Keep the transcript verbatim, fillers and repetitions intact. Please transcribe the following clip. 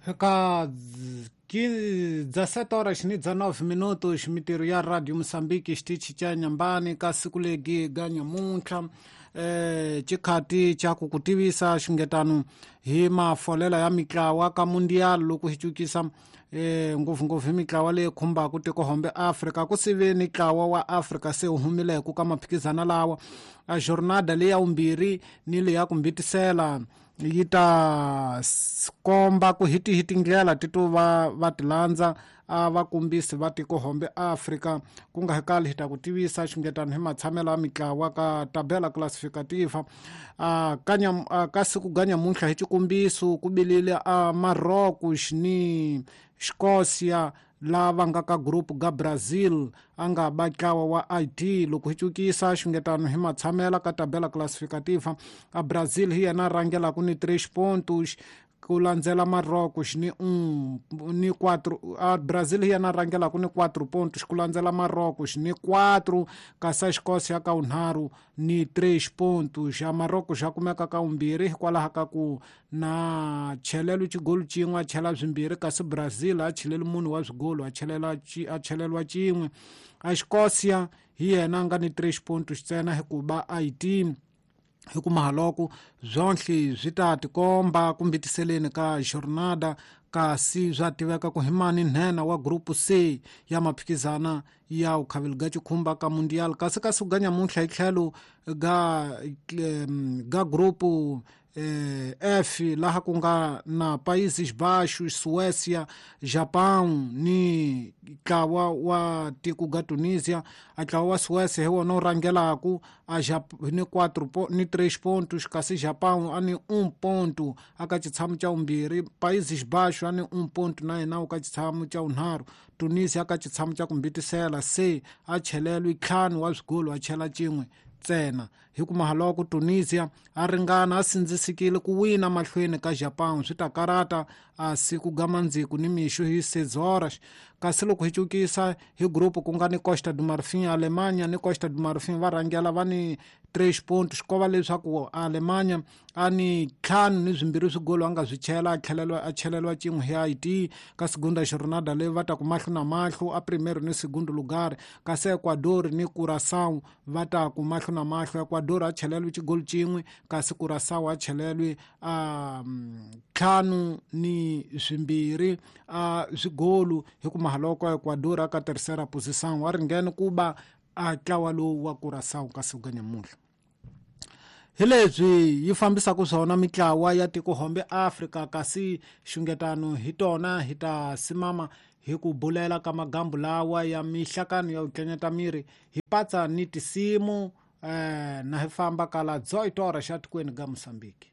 Ka dezessete horas ni dezenove minutos, mitirho ya Radio Moçambique xitichi xa Nyambani ka siku legi ga nyamuntlha eh xikhati xa ku ku tivisa xingetano hi mafolela ya mitlawa ka mundial loko hi cukisa eh ngopfungopfu hi mitlawa leyi khumbaka tikohombe Afrika ku sive ni ntlawa wa Afrika se wu humileke ka maphikizana lawa a jornada leyi ya vumbirhi ni leyi ya ku mbitisela yi ta komba ku hi tihi tindlela ti to va va ti landza a vakombisi va tikohombe Afrika ku nga kali hi ta ku tivisa xingetano hi matshamelo ya mitlawa ka tabela classificativa a kanya ka siku ga nyamuntlha hi xikombiso ku bilile a Marrocos ni Escócia lava nga ka group ga Brazil a nga ba ntlawa wa I D loko hi cukisa xingetano hi matshamela ka tabela classificativa a Brazil hi yena rhangelaka ni três pontos ku landzela Marrocos ni um ni quatro a Brazil hi yena rhangelaka ni quatro pontos ku landzela Marrocos ni quatro kasi Escócia ka unharhu ni três pontos a Marrocos ya kumeka ka vumbirhi hikwalaho ka ku na chelelo xigolo xin'we a chela swimbirhi kasi Brazil a cheleli munhu wa swigolo a chelela a cheleliwa xin'we a Escócia hi yena a nga ni três pontos ntsena hikuva I D hikumaha loko byonhle swi ta tikomba kumbitiseleni ka jornada kasi swa tiveka ku hi mani nhenha wa group C ya maphikizana ya ukhaveli ga xikhumba ka mundial kasi kasi ga nyamuntlha hi tlhelo ga ga group eh, F laha ku nga na Países Baixos, Suécia, Japão ni ntlawa wa tiko ga Tunisia. A ntlawa wa Suécia hi wona wu rhangelaku a ni quatro ni três pontos kasi Japão a ni um ponto aka xitshamo xa vumbirhi, Países Baixos a ni um ponto na yena ka xitshamo xa vunharhu, Tunisia aka xitshamo xa ku mbitisela se a chelelwi ntlhanu wa swigolo a chela xin'we ntsena. Hikumaha loko Tunisia a ringana a sindzisekile ku wina mahlweni ka Japão swi ta karata a siku ga mandziku ni mixo hi seis horas. Kasi loko hi cukisa hi group ku nga ni Costa do Marfim, Alemanha ni Costa do Marfim va rhangela va ni três pontos ko va leswaku Alemanha a ni ntlhanu ni swimbirhi swigolo a nga swi chela a tlheleliwa a cheleliwa xin'we hi Haiti ka segunda jornada leyi va ta ku mahlo na mahlo a primeiro ni segundo lugar kasi Ecuador ni Curaçao va ta ku mahlo na mahlo Ecuador a cheleliwe xigolo xin'we kasi Curaçao a cheleliwe a ntlhanu ni swimbirhi a swigolo hikumaha loko Ecuador a ka terceira posição wa ringene ku ba a ntlawa lowu wa Curaçao ka siku ga nyamuntlha. Hi leswi yi fambisaka swona mitlawa ya tikohombe Afrika kasi xungetano hi tona hi ta simama hi ku bulela ka magambu lawa ya mihlakano ya ku tlanyeta miri hi patsa ni tisimu eh, na hi famba kala dezoito horas xa tikweni ga Moçambique.